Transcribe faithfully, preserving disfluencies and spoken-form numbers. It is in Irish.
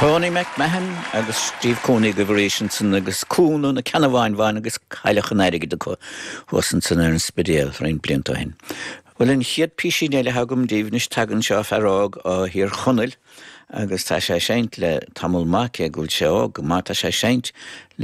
Tony McMahon agus Steve Cooney go bhréis san agus cúnú na Ceannabháin Bháin agus Cailleach an Airgid acu thuas ansan ar an Spidéal roinnt blianta ó shin. Well an chéad písín eile agam daoibh anois tagann seo fear óg ó Thír Chonaill agus tá sé seinnte le tamall maith cé go bhfuil sé óg go maith tá sé seinnte le